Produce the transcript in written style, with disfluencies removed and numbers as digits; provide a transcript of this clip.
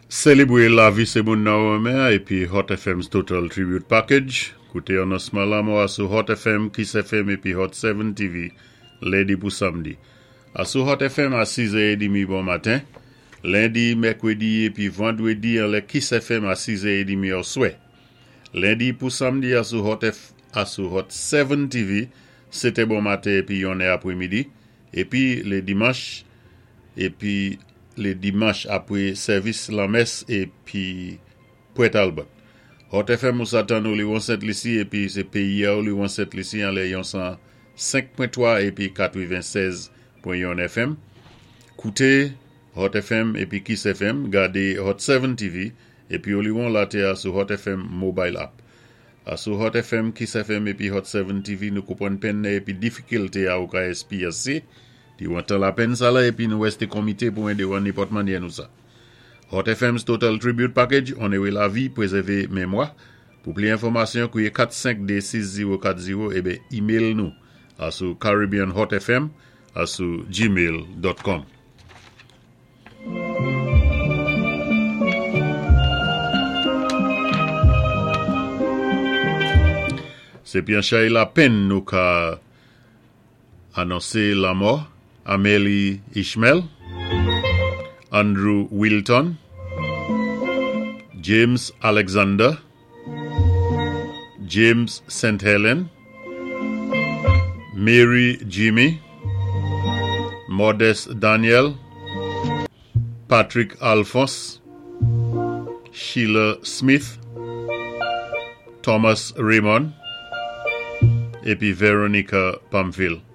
Sélébwé lavi sé moun nan ou renmen épi Hot FM's Total Tribute Package. Kouté anonsman lanmò a sou Hot FM, Kiss FM épi Hot 7 TV lendi pou samdi. A sou Hot FM a 6 è édmi bon maten, lendi, mèkwédi épi vandwédi anlè Kiss FM a 6 è édmi òswè. Lendi pou samdi a sou Hot F a sou Hot 7 TV 7 è bon maten épi 1 è apwémidi épi lé dimanch épi lé dimanch apwé sèvis lanmès épi Pwèt Albert. Hot FM ou sa tann Oliwon Sent Lisi épi sé péyi a Oliwon Sent Lisi anlè yon 105.3 épi 96.1 FM. Kouté Hot FM épi Kiss FM, gadé Hot 7 TV épi Oliwon laté a sou Hot FM Mobile App. A sou Hot FM, Kiss FM épi Hot 7 TV nou konpwann penn ni épi difikilté a ou ka èspéryansé diwan tan lapenn sa-la épi nou wèsté konmité pou édé ou an nenpòt mannyè nou sa. Hot FM's Total Tribute Package, Onoré lavi, pwézèvé mémwa. Pou pli enfòmasyon, kwié 452 6040 ébé email nou a sou caribbeanhotfm a sou gmail.com. Sé pi an chay lapenn nou ka anonsé lanmò Amélie Ishmael, Andrew Wilton, James Alexander, James St. Helen, Mary Jimmy, Modest Daniel, Patrick Alphonse, Sheila Smith, Thomas Raymond, épi Veronica Pamphile.